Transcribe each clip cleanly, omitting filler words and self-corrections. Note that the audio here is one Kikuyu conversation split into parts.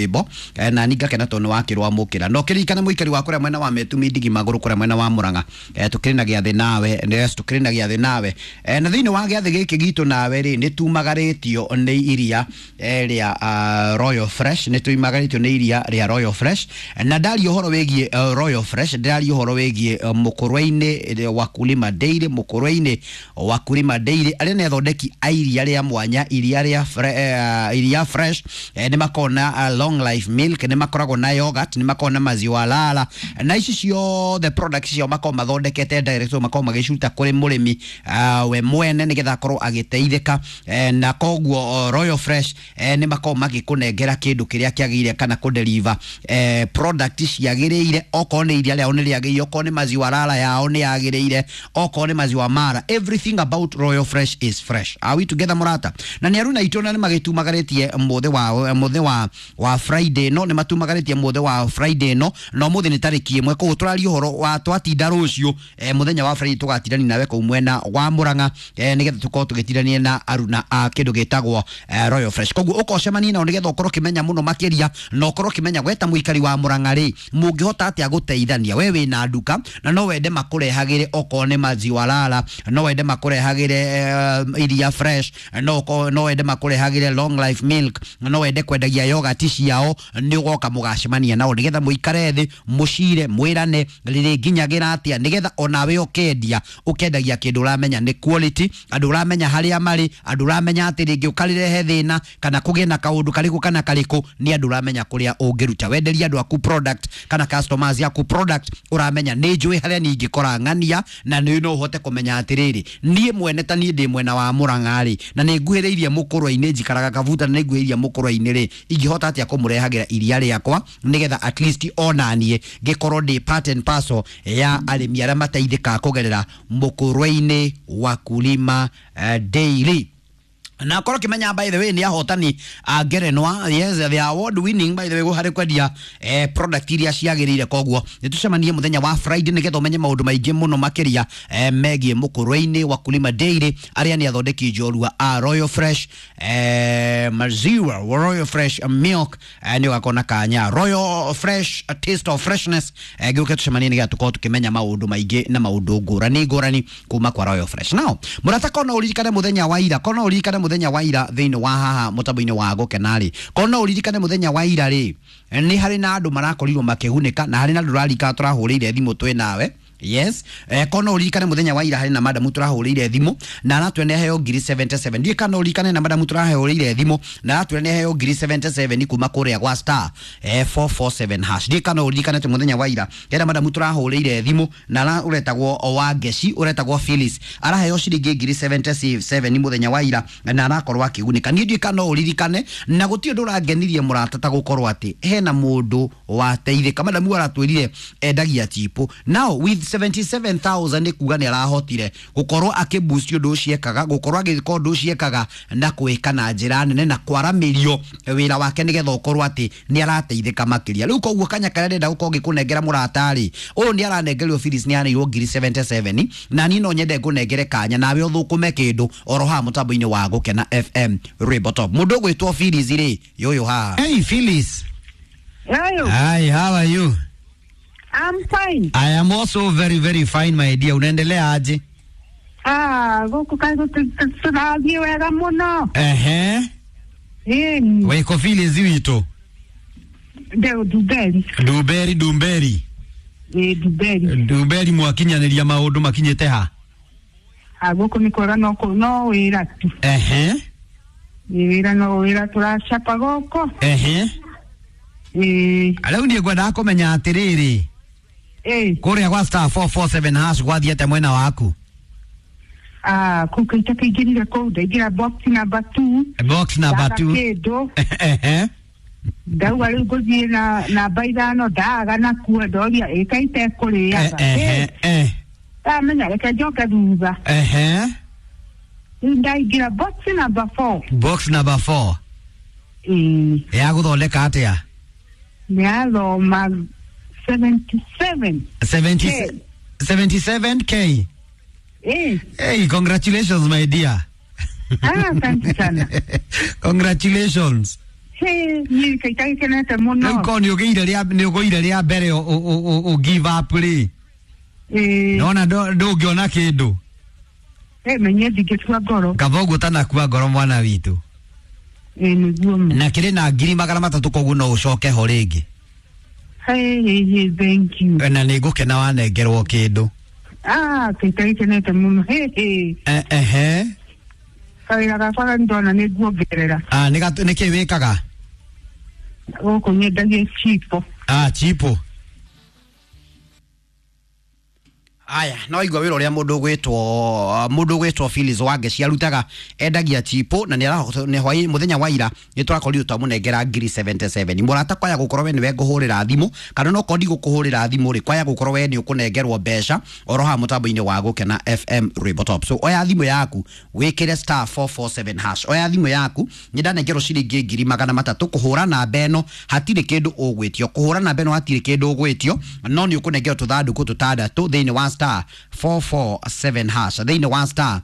Rwĩmbo na ni ngakena tondũ nĩ wakĩrwo amũkĩra no kĩririkane mũikari wa kũrĩa mwena wa Metumi Ndigi Magũrũ kũrĩa mwena wa Murang'a, tũkĩrĩ na gĩathĩ nawe. Yes, tũkĩrĩ na gĩathĩ nawe, na thĩinĩ wa gĩathĩ gĩkĩ gitũ nawe rĩ, nĩ tumagarĩtio nĩ iria rĩa Royal Fresh, nĩ tumagarĩtio nĩ iria rĩa Royal Fresh. Na ndaria ũhoro wĩgiĩ Royal Fresh, ndĩraria ũhoro wĩgiĩ Mũkũrwe-inĩ Wakulima Dairy, Mũkũrwe-inĩ Wakulima Dairy, arĩa nĩ athondeki a iria rĩa mwanya, iria rĩa iria fresh. Nĩ makoragwo na long life milk, nĩ makoragwo na yogurt, nĩ makoragwo na maziwa lala, na ici ciothe products ciao makoragwo mathondekete direct, makoragwo magĩciruta kũrĩ mũrĩmi we mwene nĩgetha akorwo agĩteithĩka. Na koguo Royal Fresh nĩ makoragwo magĩkũnengera kĩndũ kĩrĩa kĩagĩrĩire kana kũdeliver product ciagĩrĩire. Okorwo nĩ iria rĩao nĩ rĩagĩrĩire, okorwo nĩ maziwa lala yao nĩ yagĩrĩire, okorwo nĩ maziwa mara, everything about Royal Fresh is fresh. Are we together, mũrata? Na nĩ aruna itũ na nĩ magĩtumagarĩtie mũthĩ wa mũthĩ wa Friday, no nĩ matumagarĩtie mũthĩ wa Friday, no mũthĩ nĩ tarĩki 1. Koguo tũraria ũhoro wa twatinda rũciũ, mũthenya wa Friday tũgatindania nawe kũu mwena wa Murang'a, nĩgetha tũkorwo tũgĩtindania na aruna a kĩndũ gĩtagwo Royal Fresh. Koguo ũkocemania nao nĩgetha ũkorwo ũkĩmenya mũno makĩria na ũkorwo ũkĩmenya gweta mũikari wa Murang'a rĩ, mũngĩhota atĩa gũteithania. We wĩna nduka na no wende makũrehagĩre okorwo nĩ maziwa lala, no wende makũrehagĩre iria fresh, no wende makũrehagĩre long life milk, no wende kwendagia yogurt ciao, nĩ ũgoka mũgacemania nao nĩgetha mũikare thĩ, mũcire, mwĩrane rĩrĩ nginyagĩra atĩa, nĩgetha onawe ũkendia ũkendagia kĩndũ ũramenya nĩ quality, andũ ũramenya harĩa marĩ, andũ ũramenya atĩ rĩngĩ ũkarĩrehe thĩna kana kũgĩe na kaũndũ karĩkũ kana karĩkũ, nĩ andũ ũramenya kũrĩa ũngĩruta wenderie andũ aku product kana customers aku product ũramenya nĩ njũĩ harĩa niĩ ingĩkora ng'ania. Na nĩ no ũhote kũmenya atĩrĩrĩ, niĩ mwene ta niĩ ndĩ mwena wa Murang'a rĩ, na nĩ nguhĩrĩirie Mũkũrwe-inĩ, njikaraga Kabuta, na nĩ nguhĩrĩirie Mũkũrwe-inĩ rĩ, ingĩhota atĩa kũmũrehagĩra iria rĩakwa nĩgetha at least ona niĩ ngĩkorwo ndĩ part and parcel ya arĩmi arĩa mateithĩkaga kũgerera Mũkũrwe-inĩ Wakulima Dairy. Na korwo kimenya, by the way, nĩ ahotani a ngerenwa. Yes, they are award winning, by the way, harĩ kwendia product iria ciagĩrĩire. Koguo nĩ tũcemanie mũthenya wa Friday nĩgetha ũmenye maũndũ maingĩ mũno makĩria megiĩ Mũkũrwe-inĩ Wakulima Dairy, arĩa nĩ athondeki njorua a Royal Fresh maziwa, Royal Fresh milk. Nĩ ũgakorwo na kanya Royal Fresh, a taste of freshness. Gĩũke tũcemanie nĩgetha tũkorwo tũkĩmenya maũndũ maingĩ na maũndũ ngũrani ngũrani kuma kwa Royal Fresh. Now, mũrata, kona ũririkane mũthenya wa ira, kona ũririkane mũthenya wa ira thĩinĩ wa haha mũtambo-inĩ wa Gũkena rĩ, kona ũririkane mũthenya wa ira rĩ, nĩ harĩ na andũ marakorirwo makĩgunĩka na harĩ na andũ ũrarikana tũrahũrĩire thimũ twĩ nawe. Yes, kona ũririkane mũthenya wa ira harĩ na madamu tũrahũrĩire thimũ na aratwĩra nĩ aheo ngiri 77. Ndiĩ kana ũririkane na madamu tũrahũrĩire thimũ na aratwĩra nĩ aheo ngiri 77 kuma kũrĩa gwa star 447 hash. Ndiĩ kana ũririkane atĩ mũthenya wa ira hena madamu tũrahũrĩire thimũ na ũretagwo wa Ngeci, ũretagwo Phyllis, araheo ciringi ngiri 77 mũthenya wa ira na arakorwo akĩgunĩka. Niĩ ndiĩ kana ũririkane, na gũtirĩ ũndũ ũrangenirie, mũrata, ta gũkorwo atĩ hena mũndũ wateithĩka. Madamu aratwĩrire endagia chipo, now with 77,000 nĩ kuga nĩ arahotire gũkorwo akĩboost ũndũ ũcio ekaga, gũkorwo agĩka ũndũ ũcio ekaga na kwĩka na njĩra nene na kwaramĩrio wĩra wake nĩgetha ũkorwo atĩ nĩ arateithĩka makĩria. Rĩu koguo kanya karĩa ndĩrenda gũkorwo ngĩkũnengera, mũrata rĩ, ũyũ nĩ aranengerio, Phyllis nĩ aneirwo ngiri 77, na niĩ no nyende ngũnengere kanya nawe ũthũkũme kĩndũ oro haha mũtambo-inĩ wa Gũkena FM Rwĩmbo Top. Mũndũ ũgwĩtwo Phyllis rĩ, yũyũ haha. Hey Phyllis. Hello. Hi, how are you? I'm fine. I am also very very fine, my dear. Unaendelea aje? Ah, gũkũ kaĩ tũrathiĩ wega mũno. Ĩni. Wiko Phyllis witũ? Ndeo Dumberi. Dumberi, Dumberi. Ĩ, Dumberi. Dumberi, mwakinyanĩria maũndũ makinyĩte ha? Ah, gũkũ nĩ kwega, no no wĩra tu. Ĩ, wĩra no wĩra tũracapa gũkũ. Ĩ. Rĩu niĩ ngwendaga kũmenya atĩrĩrĩ, kũrĩa gwa star 447 hash gwathiĩte mwena waku? Ah, kũu kaita kaingĩrire kũu, ndaingĩra box number 2. Box number Ndaga 2. Kĩndũ. Ndauga rĩu ngũthiĩ na namba 5, ndaga nakuo, ndoria ĩ kaita ĩkũrĩaga. Ndamenya reke njoke thutha. Rĩu ndaingĩra box number 4. Box number 4. Ĩĩ. Ya gũthondeka atĩa? Nĩ athoma 77. 70 77K? Ĩĩ. Hey, congratulations, my dear. Ah, asante sana. Congratulations. Hĩ, niĩ kaita gĩkenete mũno. Rĩu korwo nĩ ũgĩire rĩa nĩ ũgũire rĩa mbere ũ give up rĩ. Ĩĩ. Nona ndũngĩona kĩndũ. Menye ndingĩtua ngoro. Kaba ũguo ũtanakua ngoro mwana witũ. Ĩĩ nĩguo ma. Na kĩrĩ na 300,000 koguo no ũcoke ho rĩngĩ. Hĩ, hĩ, hĩ, thank you. Na nĩ ngũkena wanengerwo kĩndũ. Ah, kaita gĩkenete mũno. Hĩ, hĩ. Ehe. Kawĩra gakwa ndona nĩ nguongerera. Ah, nĩ kĩ wĩkaga? Gũkũ nyendagia chipo. Ah, chipo. Aya, no igua wĩra ũrĩa mũndũ ũgwĩtwo Phyllis Wangeci arutaga, endagia chipo na nĩ hwaĩ mũthenya wa ira nĩ tũrakorirwo twamũnengera 77,000. Mũrata, kwaya gũkorwo we nĩwe ngũhũrĩra thimũ kana no korwo ndigũkũhũrĩra thimũ rĩ, kwaya gũkorwo we nĩ ũkũnengerwo mbeca oro haha mũtambo-inĩ wa Gũkena FM Rwĩmbo Top. So oya thimũ yaku wĩkĩre star 447 hash. Oya thimũ yaku, nĩ ndanengerwo ciringi 300,000 kũhũra namba ĩno hatirĩ kĩndũ ũgwĩtio, kũhũra namba ĩno hatirĩ kĩndũ ũgwĩtio, no nĩ ũkũnengerwo tũthandũkũ tũtandatũ thĩinĩ wa star 447 hash, thĩinĩ wa star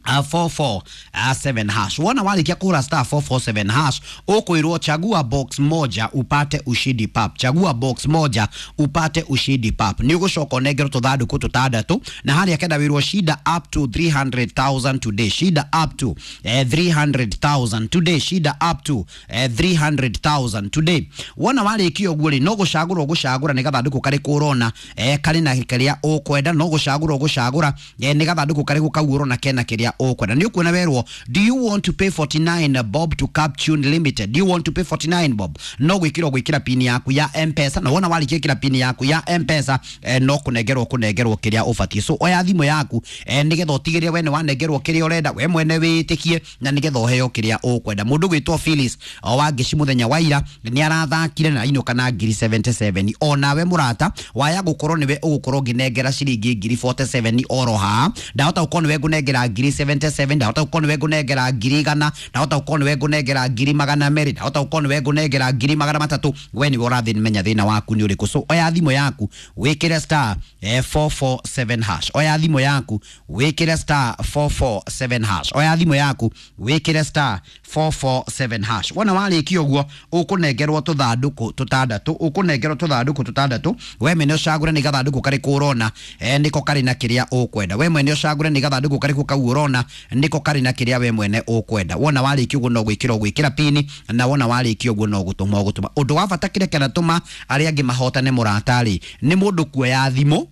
447 hash. Wona warĩkia kũhũra star 447 hash, ũkwĩrwo chagua box moja upate ushindi pap, chagua box moja upate ushindi pap. Nĩ ũgũcoka ũnengerwo tũthandũkũ tũtandatũ na harĩa kenda wĩrwo shida up to 300,000 today, shida up to 300,000 today, shida up to 300,000 today. Wona warĩkia ũguo rĩ, no gũcagũra ũgũcagũra nĩ gathandũkũ karĩkũ ũrona karĩ na kĩrĩa ũkwenda, no gũcagũra ũgũcagũra nĩ gathandũkũ karĩkũ kau ũrona kena kĩrĩa ũkwenda. Nĩ ũkuona werwo, do you want to pay 49 bob to Captune Limited? Do you want to pay 49 bob? No gwĩkĩra ũgwĩkĩra pin yaku ya M-Pesa, na wona warĩkia gwĩkĩra pin yaku ya M-Pesa no kũnengerwo kũnengerwo kĩrĩa ũbatiĩ. So oya thimũ yaku nĩgetha ũtigĩrĩre we nĩ wanengerwo kĩrĩa ũrenda, we mwene wĩtĩkie, na nĩgetha ũheo kĩrĩa ũkwenda. Mũndũ gwĩtwo Phyllis Wangeci mũthenya wa ira nĩ arathakire na ainũka na 77,000. Onawe mũrata waya gũkorwo nĩwe ũgũkorwo ũngĩnengera ciringi 47,000 oro haha, ndahota gũkorwo nĩwe ngũnengera 77,000, ndahota gũkorwo nĩwe ngũnengera 100,000, ndahota gũkorwo nĩwe ngũnengera 200,000, ndahota gũkorwo nĩwe ngũnengera 300,000. We nĩwe ũrathiĩ menya thĩna waku nĩ ũrĩkũ. So oya thimũ yaku wĩkĩre star 447 hash, oya thimũ yaku wĩkĩre star 447 hash, oya thimũ yaku wĩkĩre star 447 hash. Wona warĩkia ũguo ũkũnengerwo tũthandũkũ tũtandatũ, ũkũnengerwo tũthandũkũ tũtandatũ. We mwene ũcagũre nĩ gathandũkũ karĩkũ ũrona nĩko karĩ na kĩrĩa ũkwenda. We mwene ũcagũre nĩ gathandũkũ karĩkũ kau ũrona nĩko karĩ na kĩrĩa we mwene ũkwenda. Wona warĩkia ũguo no gwĩkĩra ũgwĩkĩra pini, na wona warĩkia ũguo no gũtũma ũgũtũma. Ũndũ wa bata kĩrĩa kĩratũma arĩa angĩ mahotane mũrata-rĩ, nĩ mũndũ kuoya thimũ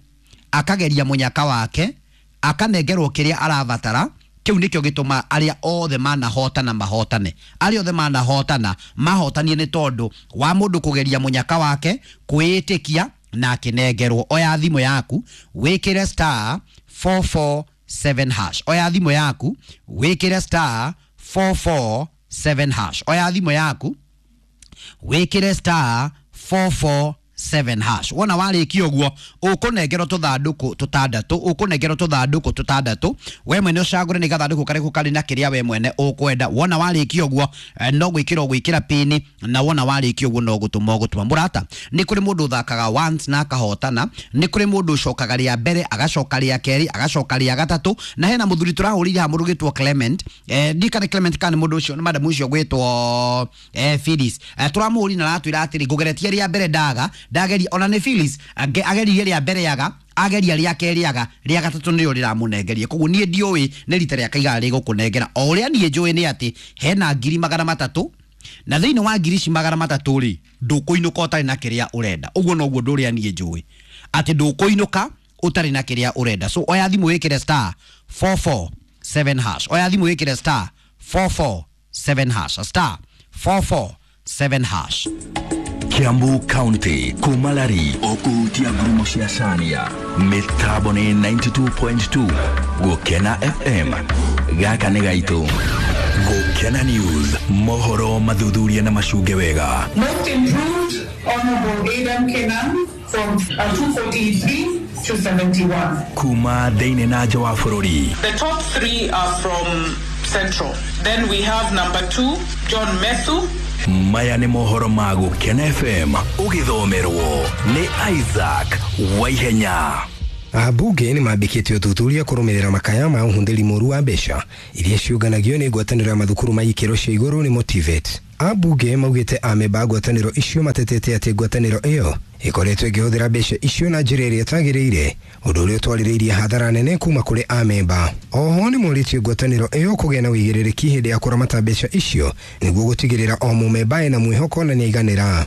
akageria mũnyaka wake akanengerwo kĩrĩa arabatara. Kĩu nĩkĩo gĩtũma arĩa othe manahotana mahotane, arĩa othe manahotana mahotanie nĩ tondũ wa mũndũ kũgeria mũnyaka wake, kwĩĩtĩkia na akĩnengerwo. Oya thimũ yaku wĩkĩre star 447 hash, oya thimũ yaku wĩkĩre star 447 hash, oya thimũ yaku wĩkĩre star 447 hash. Wona warĩkia ũguo ũkũnengerwo tũthandũkũ tũtandatũ, ũkũnengerwo tũthandũkũ tũtandatũ. We mwene ũcagũre nĩ gathandũkũ karĩkũ karĩ na kĩrĩa we mwene ũkwenda. Wona warĩkia ũguo no gwĩkĩra ũgwĩkĩra pini, na wona warĩkia ũguo no gũtũma ũgũtũma. Mũrata, nĩ kũrĩ mũndũ ũthakaga once na akahotana, nĩ kũrĩ mũndũ ũcokaga rĩa mbere agacoka rĩa kerĩ agacoka rĩa gatatũ, na hena mũthuri tũrahũrĩire haha mũndũ ũgwĩtwo Clement, ndikane Clement kana nĩ mũndũ ũcio nĩ madam ũcio ũgwĩtwo Phyllis, tũramũhũrire na aratwĩra atĩrĩ ngũgeretie rĩa mbere ndaga ndageria, ona nĩ Phyllis ageririe rĩa mbere yaga, ageria rĩa kerĩ yaga, rĩa gatatũ nĩrĩo rĩramũnengeria. Koguo niĩ ndiũĩ nĩ rita rĩa kaigana rĩgũkũnengera. O ũrĩa niĩ njũĩ nĩ atĩ hena 300,000, na thĩinĩ wa 300,000 rĩ, ndũkũinũka ũtarĩ na kĩrĩa ũrenda. Ũguo noguo ũndũ ũrĩa niĩ njũĩ, atĩ ndũkũinũka ũtarĩ na kĩrĩa ũrenda. So oya thimũ wĩkĩre star 447 hash, oya thimũ wĩkĩre star 447 hash, star 447 hash. Kiambu County kumalari okuhutia ngurumo cia Cania mitambo ni 92.2 Gukena FM gaka nĩ gaitũ. Gukena News mohoro mathuthuria na macunge wega. Most improved Honorable Aidan Kenan from 243 to 71. Kuma thĩinĩ na nja wa bũrũri. The top three are from Central. Then we have number 2 John Methu. Maya nĩ mohoro ma Gukena FM ũgĩthomerwo nĩ Isaac Waihenya. Ambunge nĩ mambĩkĩte ũthuthuria kũrũmĩrĩra makaya ma ũhũthĩri mũru wa mbeca iria ciũnganagio nĩ ngwatanĩro ya mathukuru ma ikĩro cia igũrũ nĩ Motivate. Ambunge maugĩte amemba ngwatanĩro icio matetete atĩ ngwatanĩro ĩyo ĩkoretwo ĩkĩhũthĩra mbeca icio na njĩra ĩrĩa ĩtagĩrĩire, ũndũ ũrĩa ũtwarĩrĩirie hathara nene kuma kũrĩ amemba. Oho nĩ morĩtie ngwatanĩro ĩyo kũgĩa na ũigĩrĩrĩki hĩndĩ ya kũramata mbeca icio nĩguo gũtigĩrĩra o mũmemba ena mwĩhoko na nĩaiganĩra.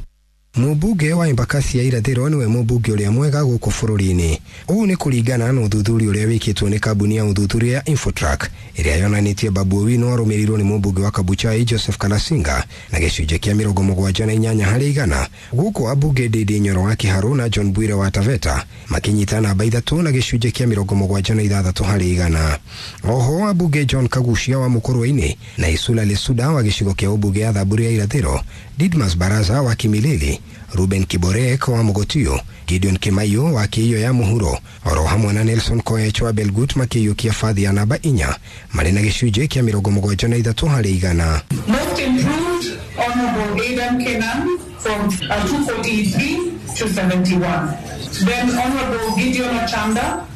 Mũmbunge wa Embakasi ya Irathĩro nĩwe mũmbunge ũrĩa mwega gũkũ bũrũri-inĩ. Ũũ nĩ kũringana na ũthuthuria ũrĩa wĩkĩtwo nĩ kambuni ya ũthuthuria ya Infotrack ĩrĩa yonanĩtie Babu Owino arũmĩrĩirwo nĩ mũmbunge wa Kabuchai Joseph Kalasinga na gĩcunjĩ kĩa 78 harĩ igana, gũkũ ambunge Ndindi Nyoro wa Kiharu na John Bwire wa Taveta makĩnyita namba 3 na gĩcunjĩ kĩa 76 harĩ igana. Oho ambunge John Kagucia wa Mukurwe-inĩ na Isula Lesuda wa gĩcigo kĩa ũmbunge ya Thamburu ya Irathĩro, Didmas Baraza wa Kimilili, Ruben Kiborek wa Mogotio, Gideon Kimayo wa Kiio ya Muhuro, oro hamwe na Nelson Koech wa Belgut makĩiyũkia bathi ya namba 4 marĩ na gĩcunjĩ kĩa 73 harĩ igana. Most improved, Honorable Aidan Kenan from 243 to 71. Then Honorable Gideon Ochanda,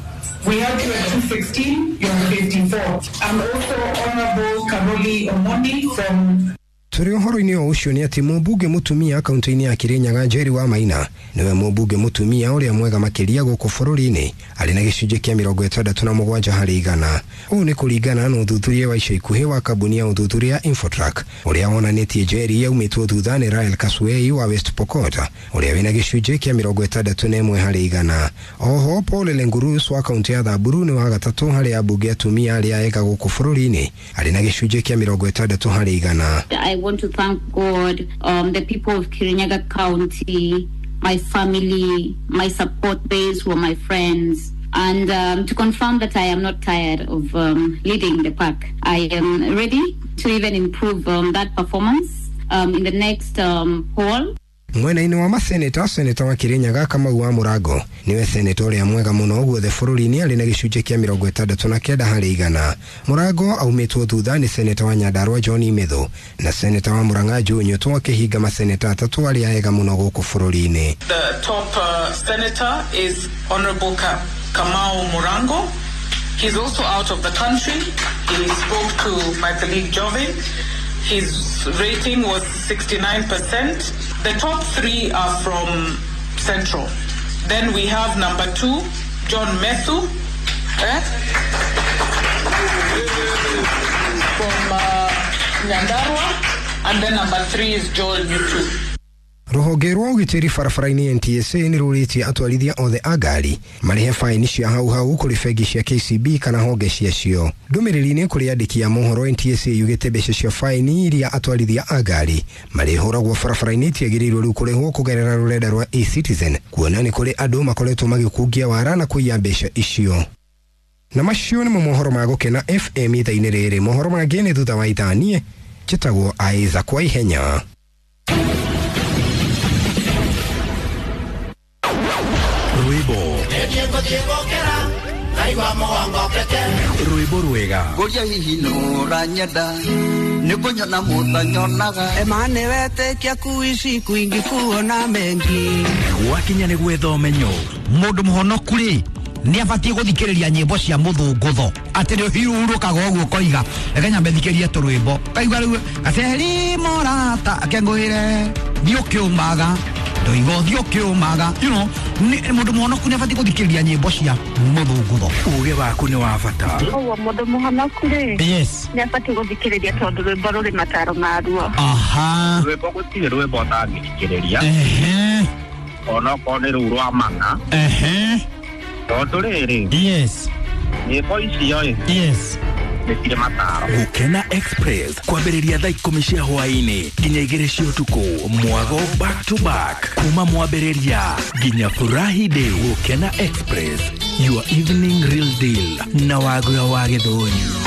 we had you at 216, you're 54. And also Honorable Karoli Omoni from Tũrĩ ũhoro-inĩ o ũcio nĩ atĩ mũmbunge mũtumia kaunti-inĩ ya Kirinyaga Njeri wa Maina nĩwe mũmbunge mũtumia ũrĩa mwega makĩria gũkũ bũrũri-inĩ arĩ na gĩcunjĩ kĩa 67 harĩ igana. Ũũ nĩ kũringana na ũthuthuria wa ica ikuhĩ wa kambuni ya ũthuthuria ya Infotrack ũrĩa wonanĩtie Njeri yaumĩtwo thutha nĩ Rael Kasuei wa West Pokot ũrĩa wĩna gĩcunjĩ kĩa 61 harĩ igana. Oho Paul Lengurus wa kaunti ya Thamburu nĩ wa gatatũ harĩ ambunge atumia arĩa ega gũkũ bũrũri-inĩ arĩ na gĩcunjĩ kĩa 60 harĩ igana. I want to thank God, the people of Kirinyaga County, my family, my support base who are my friends, and to confirm that I am not tired of leading the pack. I am ready to even improve that performance in the next poll. Mwena-inĩ wa maseneta, seneta wa Kirinyaga Kamau wa Mũrango niwe seneta ũrĩa mwega mũno guothe bũrũri-inĩ arĩ na gĩcunjĩ kĩa 69 harĩ igana. Mũrango aumĩtwo thutha nĩ seneta wa Nyandarua John Imethu na seneta wa Murang'a Joe Nyutu akĩhinga maseneta atatũ arĩa ega mũno gũkũ bũrũri-inĩ. The top senator is Honorable Kamau Murango. He's also out of the country. He spoke to my colleague Jovin. His rating was 69%. The top three are from Central. Then we have number 2, John Methu, from Nyandarua, and then number 3 is Joel Nyutu. Rũhonge rwa ũgitĩri barabara-inĩ NTSA nĩ rũrĩtie atwarithia othe a ngari marĩhe faini cia hau hau kũrĩ bengi cia KCB kana honge ciacio. Ndũmĩrĩri-inĩ kũrĩ andĩki a mohoro, NTSA yugĩte mbeca cia faini iria atwarithia a ngari marĩhũragwo barabara-inĩ itiagĩrĩirwo rĩu kũrĩhwo kũgerera rũrenda rwa eCitizen, kuona nĩ kũrĩ andũ makoretwo magĩkungia wara na kũiya mbeca icio. Na macio nĩmo mohoro ma Gũkena FM ithaa-inĩ rĩrĩ. Mohoro mangĩ nĩ thutha wa ithaa. Niĩ njĩtagwo Isaac wa Ihenya. Rwĩmbo rwega Ngoria hihi nũranyenda nĩkũnyona mũtanyonaga Emane wetĩkia kuishi kwingi kuona mengi gwakinya nĩ gwetha ũmenyo. Mũndũ mũhonoku rĩ nĩ abatiĩ gũthikĩrĩria nyĩmbo cia mũthũngũtho atĩ nĩ ũhurũkaga ũguo ũkoiga reke nyambe thikĩrie tũrwĩmbo kaigua rĩu gaceri morata akengũĩre thiĩ ũkĩũmaga ndoiga ũthiĩ ũkĩũmaga, you know, mũndũ mũhonoku nĩ abatiĩ gũthikĩrĩria nyĩmbo cia mũthũngũtho. Ũgĩ waku nĩ wa bata. Ũguo mũndũ mũhonoku rĩ, yes, nĩ abatiĩ gũthikĩrĩria tondũ rwĩmbo rũrĩ mataro maruo. Aha, rwĩmbo gũtirĩ rwĩmbo ũtangĩthikĩrĩria, ehe, onokorwo nĩ rũu rwa mang'a, ehe, tondũ rĩrĩ, yes, nyĩmbo icio ĩ, yes, nĩ mataro. Gũkena Express kwambĩrĩria thaa 10 cia hwaĩ-inĩ nginya 2 cia ũtukũ, mwago back to back kuma mwambĩrĩria nginya Furahi Day. Gũkena Express, your evening real deal na Wagura wa Gĩthũnyu.